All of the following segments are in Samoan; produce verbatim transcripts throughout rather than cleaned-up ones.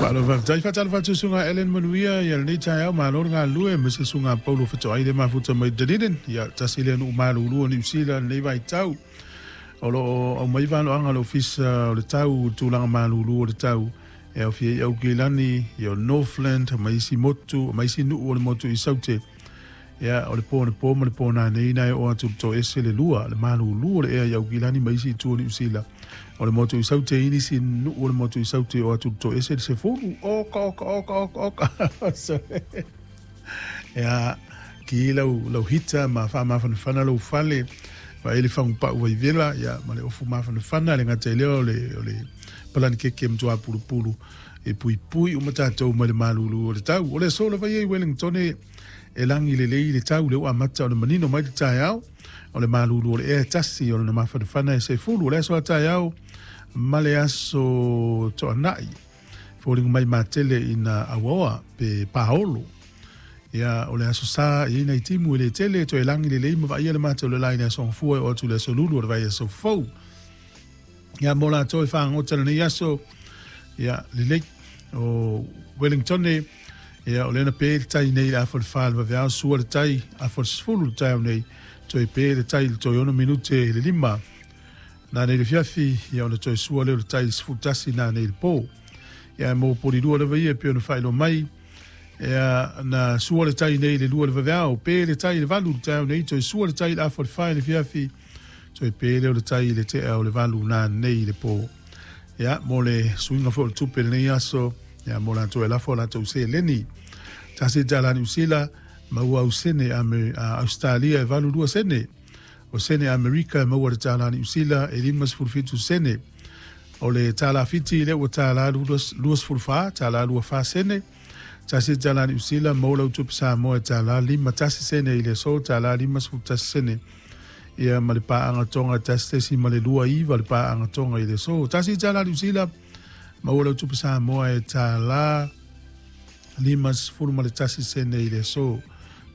Faalo faafetai faatalofa atu susuga Ellen Manuia ia lenei taeao, malo le galulue ma se susuga Paulo Fetoai le mafuta mai Dunedin, ia tasi lea nuu malulu o Niu Sila lenei vaitau. O loo aumai valoaga o le Ofisa o le Tau tulaga malulu o le tau e aofia ai Aukilani, ia o Northland, ma isi motu, ma isi nuu o le motu i Saute. Ia o le po le po ma le po nanei na e oo atu le toese le lua, le malulu o le ea i Aukilani ma isi itu o Niu Sila. O le motu i Saute i nisi nuu o le motu i Saute o atu le toese le sefulu. Oka, oka, oka, oka, oka. Ia, ki lau, lau hita ma whaamafanafana lau fale, wa ele whangupau vai vela, ia, ma le ofu mafanafana, le ngata lea o le, o le palani keke mtua pulupulu, e pui pui o matatou mai le malulu o le tau. O le aso lava ia i Wellington e langi lelei le tau le ua amata o le manino mai le taeao, o le malulu o le ea tasi o le mafanafana e sefulu. O le aso a taeao ma le aso toanai, foliga mai matele ina auaoa pe paolo. Ia, o le aso sa i ina i timu e le tele, toe langi lelei ma vaia le mata o le lai le aso fua o atu le aso lulu o le vai aso fou. Ia, mo latou e fagota lenei aso, ia, lelei o Wellington e, ia, o lena pe le tai nei le afa le fa le vaveao, sua le tai, afa le sefulu le taeao nei, toe pe le tai le toe ono minute le lima. Nā nei le fiafi, ia, o le toe sua leo le tai le sefulu tasi nā nei le pō. Ia, mo poli lua lava ia, pe ona whailo mai, ia, na sua le tai nei le lua le vaveao, pe le tai le valu le taeao nei, toe sua le tai le afa le fa le fiafi, toe pe leo le tai le tea o le valu nā nei le pō. Ia, mo le suiga foi o le tupe lenei aso, ia, mo latou e lafo latou seleni. Tasi tala Niu Sila, maua au sene ame, a Australia e valu lua sene. O sene Amerika e maua le tala Niu Sila e lima sefulu fitu sene. O le tala Fiti le ua tala lua sefulu fa, tala lua fa sene. Tasi tala Niu Sila, maua lau tupe Samoa e tala lima tasi sene i le aso, tala lima sefulu tasi sene. Ia, ma le paanga tonga tasi tesi ma le lua iva le paanga tonga i le aso. Tasi tala Niu Sila, maua lau tupe Samoa e tala lima sefulu ma le tasi sene i le aso,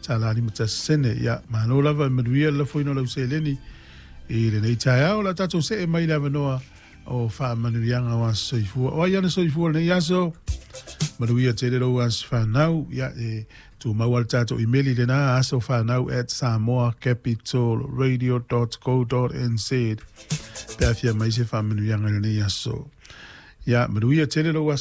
tala lima tasi sene. Ia, malo lava e manuia le lafoina o lau seleni i lenei taeao. La tatou see mai le avanoa o faamanuiaga o aso soifua. O ai ana soifua lenei aso, manuia tele lou aso whanau. Ia, e tumau ale tatou imeli lena aso whanau at samoa capital radio dot co dot nz. Pe afia mai se faamanuiaga i lenei aso. Ia, manuia tele lou aso.